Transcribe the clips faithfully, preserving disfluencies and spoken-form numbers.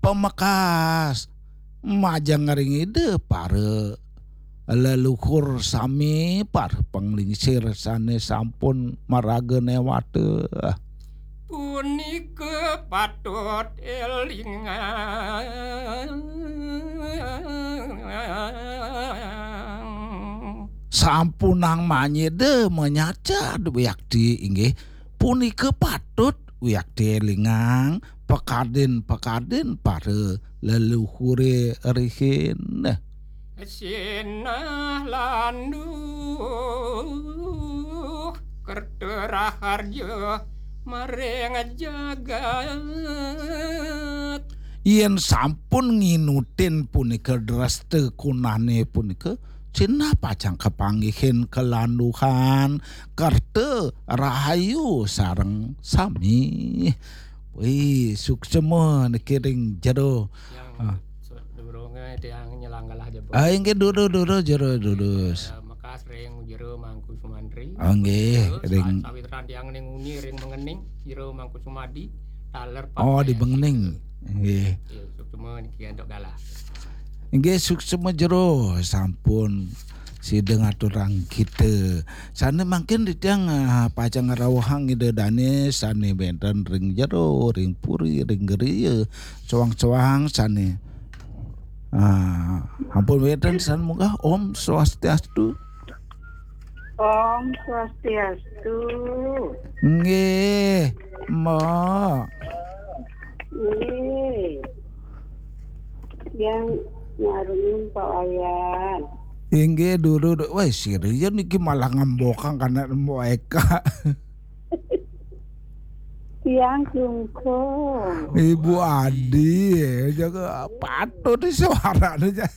Pamekas, majeng ring Ida para leluhur sami, para panglingsir sane sampun maraga newata. Punika patut elingang. Sampunang manyida manyacad wiakti inggih punika patut wiakti elingang pakadin-pakadin para leluhure rihin. Sinah landuh kerta raharja maring jagat. Yen sampun nginutin punika dresta kunane punika, sinah pacang kapanggihin kalanduhan kerta rahayu sareng sami. Wih, suksema niki ring jero. Yang Ah. Durunge tiang nyelang galah jebul. Ah, inggih, duru, duru, jero, durus. Eh, mekas ring jero Mangku Sumantri. Ah, nggih, Terus, ring sa-, sawitran tiang ning uni ring Mengening, jero Mangku Sumadi, taler Oh, di Pakai. Mengening. Nggih. Nggih, suksema niki antuk galah. Inggih, suksema jero sampun sida ngaturang kita. Sane mangkin titiang, ah, pacang ngrawuhang Ida Dane sane wenten ring jero, ring puri, ring griya, soang-soang sane. Ah, ampun wenten sane munggah. Om Swastiastu. Om Swastiastu. Nggih, Mbok. Nggih. Yang nyarungin Pak Wayan. Inggih, dulu, dulu. Wah, serius niki malah ngembokang kana Mbok Eka. Tiang sungkem. Ibu Adi, ya, jaga patut di suaranya.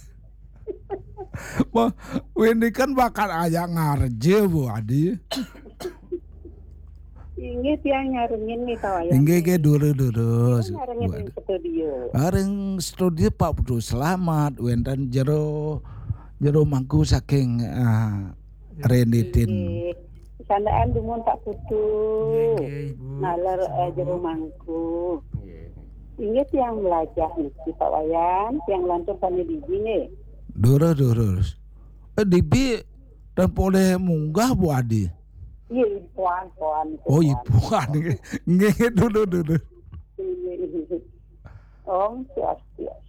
Wah, ini kan bakat aja ngarje, Bu Adi. Inggih tiang nyarungin nih, Pak Wayan. Inggih, inggih, dulu, dulu. Tiang nyarungin Bu Adi. Ring studio. Ah, ring studio Pak Putu Selamat, wenten jero, jero mangku saking, ah, Renditin. Inggih. Sandaan dumun Pak Putu. Inggih, inggih, Ibu. Naler, eh, jero mangku. Inggih. Inggih tiang melajah niki, Pak Wayan, tiang lantur sami dibi nih. Durus, durus. Eh, dibi dan poleh munggah, Bu Adi? Iya, ipuan, puan, Oh, puan. Ipuan. Nggih, nggih, dulu, dulu. Iya, iya. Om Swastiastu.